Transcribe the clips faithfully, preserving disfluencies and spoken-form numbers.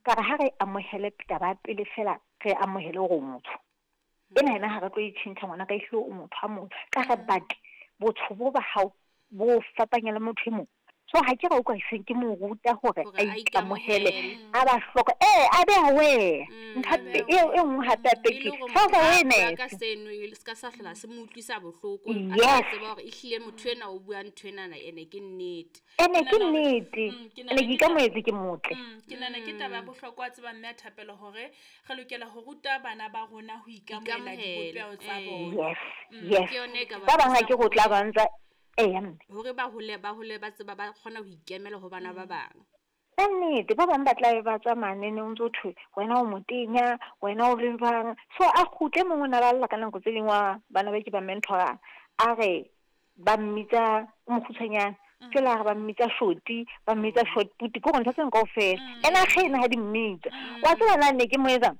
Ka re ha re amohele taba ya pele fela, re amohele hore o motho. Ena yena ha re tlo e tjhentjha ngwana ka ehlile o motho a motho. Ka re but botho bo ba hao bo fapanya le motho e mong. So ha ke re utlwa se ke mo ruta hore Hore a a ikamohele, ikamohele. a ba hloka eh a be aware. Mm, Ntho a be e e nngwe hape hape E ke le hore self motho ha a bua awareness. ka seno e se ka sa hlola se mo utlwisa bohloko, a sa Yes. tseba hore ehlile motho enwa o bua ntho enana ene ke nnete. Ene Ke ke nahana hore- nnete. Mm, ke Ene nahana ke ke taba- ikamohetse ke motle. Mm, ke nahana ke taba ya bohlokwa wa tseba mme a thapelo hore re lokela ho ruta bana ba rona ho ikamohela Ikamohela, dipopeho tsa eh. bona. Yes, yes. Ke yona e ka ba Ba bang ha thusang ke re o tla hore- ba ntsa eya mme. Hore ba hole, ba hole ba tseba ba kgona ho ikemela ho bana ba bang. Ka nnete ba bang ba tla be ba tswa manene o ntso thwe wena o motenya, wena o le jwang. So a kgutle mongwe o na ba lla ka nako tse ding wa bana ba ke ba mentorang. A re ba mmitsa o mokgutshwanyane. Jwale a re ba mmitsa shoti, ba mmitsa short put, ke hore ntho tseno kaofela. Ene a kgena ha di mmitsa. Wa tseba na ne ke mo etsang?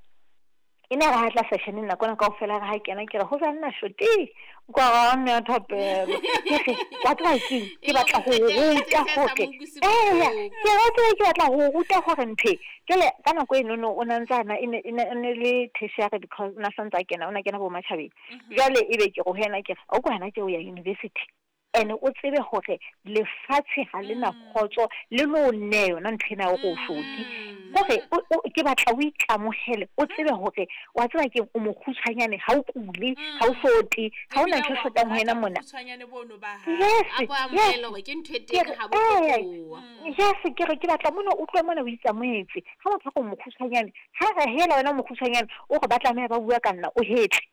E ne re ha tla session nako ena kaofela re ha kena ke re ho jwang nna shoti? Kwa ra mme a thapelo. Ke re wa tseba keng? Ke batla ho ruta hore eya, ke re wa tseba ke batla ho ruta hore ntho e. Jwale ka nako eno no o na ntse ana e ne e ne e ne le tertiary because o na santse a kena o na kena bo matjhabeng. Jwale ebe ke re ho yena ke re o kwa hana tje o ya university. Ene o tsebe hore lefatshe ha le na kgotso le lo nne yona ntho ena ya hore o shoti. Hore o o ke batla o ikamohele, o tsebe hore wa tseba keng o mokgutshwanyane ha o kule, ha o sote, ha hona ntho e shotang ho wena mona. Bokgutshwanyane bono ba hao. Yes, A bo yes. amohele hore ke ntho e Ke teng re, ha bo eh, fetoha. yes, ke re ke batla mona o tlohe mona o itsamaetse. Ha motho a re o mokgutshwanyane, ha re hela wena o mokgutshwanyane, o re ba tlameha ba bua ka nna, o hetle.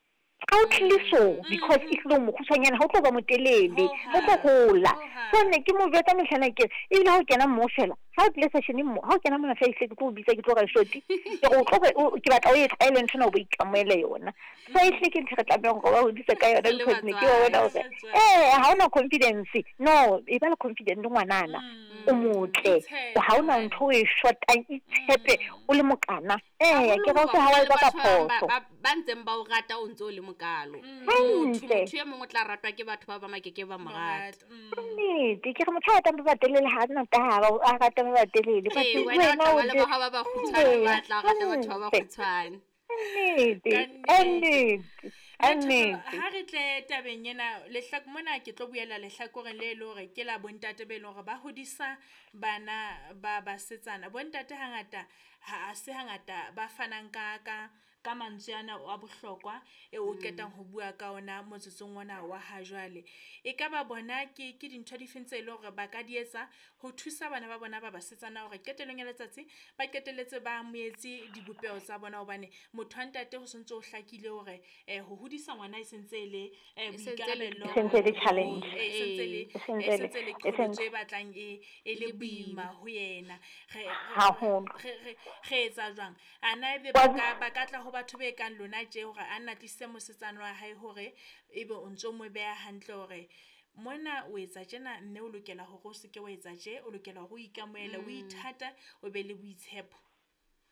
Ha o tlile so because ehlile o mokgutshwanyane ha o tlo ba motelele, ha o tlo hola. So ne ke mo jwetsa mehlana ke re, ebile ha o kena mo fela, ha o tlile session mo, ha o kena mona fela ehlile ke tlo o bitsa ke tlo re shoti. Ke re o tlo re o ke batla o e tlwaele ntho ena o bo ikamohele yona. So ehlile ke ntho e re tlamehang hore ba hodise ka yona Re le because ne ke wa bona hore batswadi. eh ha ona confidence. No, e ba le confident ngwanana. O motle. Itshepe. Ha ona ntho o e shotang, itshepe o le mokana. Eh, ke Haholo re hoba ha wa hona le etsa ka batho ba bang ba phoso. ba ba ntseng ba o rata o ntso o le mokalo. Motho Hantle. motho e mong o tla ratwa ke batho ba bang a keke ba mo rata. Morata. Mm. Nnete, ke re motho a ratang ba batelele ha ana taba, a rata ba batelele. But Ee, wena o wena tla o ba le je- ba hao ba bakgutshwane, Ee, ba tla rata batho ba hantle. bakgutshwane. Nnete, Ka ka nnete, ka Mme Thapelo, nnete. ha re tle tabeng ena lehlak mona ke tlo buela lehlakoreng le le hore ke la bontate be leng hore ba hodisa bana ba basetsana. Bontate hangata ha se hangata ba fanang ka ka ka mantswe ana a bohlokwa e o qetang ho bua ka ona motsotsong ona wa ha jwale. E ka ba bona ke ke dintho difeng tse leng hore ba ka di etsa ho thusa bana ba bona ba basetsana hore qetellong ya letsatsi ba qetelletse ba amohetse dibopeho tsa bona hobane motho wa ntate ho sontso ho hlakile hore eh ho hodisa ngwana e sentse e le eh E sentse e le boikarabelo E sentse e le challenge. eh, e sentse e le E sentse e e le- sentse e le e qholotso sentse- e batlang e e le Le boima boima. ho yena. Re re Haholo. re re re etsa jwang? Ana ebe Wa ba ka ba ka tla ho batho be kang lona tje hore a nna tlisitse mosetsana wa hae hore ebe o ntso mo beha hantle hore mona o etsa tjena mme o lokela hore o seke wa etsa tje, o lokela hore o ikamohele, o ithate, o be le boitshepo.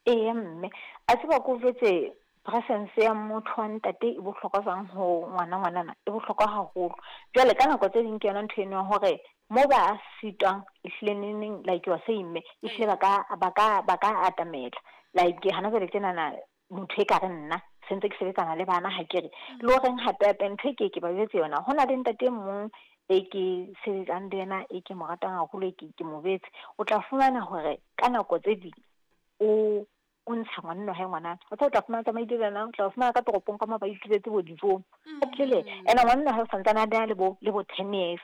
Eya mme, a tseba ke o jwetse presence ya motho wa ntate e bohlokwa jwang ho ngwana ngwanana, e bohlokwa haholo. Jwale ka nako tse ding ke yona ntho eno ya hore mo ba sitwang ehlile neng neng like you are saying mme, ehlile ba ka ba ka ba ka atamela. Like hana jwale tjenana motho e ka re nna sentse ke sebetsana le bana ha ke re. Le horeng hape hape ntho e ke ke ba jwetse yona, ho na le ntate e mong e ke sebetsang le yena e ke mo ratang haholo e ke ke mo betse. O tla fumana hore ka nako tse ding o o ntsha ngwaneno hae ngwanana. O tla o tla fumana tsamaile le yena, o tla fumana ka toropong ka mo ba ituletse bo dijong. O tlile ena ngwaneno hae o santsane a na le bo le bo ten years.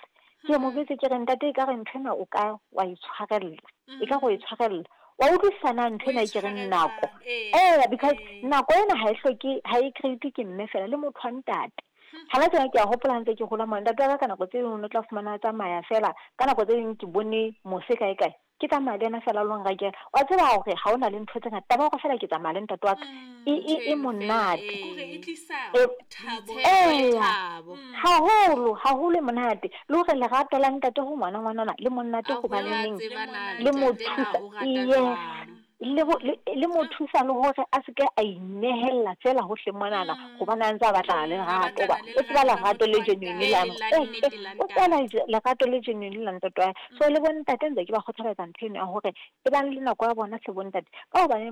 Ke mo betse ke re ntate e ka re ntho ena o ka wa itshwarella. E ka go e tshwarella. Wa utlwisisa ntho ena e ke reng nako. Eh because nako ena ha e hloke ha e create ke mme fela le motho wa ntate. Hana tsena ke a hopola ntse ke hola mona ntate wa ka ka nako tse ding o tla fumana a tsamaya fela ka nako tse ding ke bone mose kae kae. Ke tsamaya le yena fela lo nrekela. Wa tseba hore ha ona le ntho tse ngata, taba ya hore fela ke tsamaya le ntate wa ka e e e monate. Hore e tlisa E thabo. Eh, Thabo. haholo haholo e monate. Le hore lerato la ntate ho ngwana ngwanana le monate A hobane hole a neng tseba na le mo ntate na thusa. o rata Yes. jwang. Le bo le le mo thusa le hore a seke a inehella fela hohle monana hobane a ntse a batlana le lerato hoba o tseba lerato le genuine la Le la eh, nnete eh, la o tseba ntate. lerato le genuine la ntate wa hae. So le bo ntate ntse ke ba kgothaletsa ntho eno ya hore e bang le nako ya bona hle bo ntate. Ka hobaneng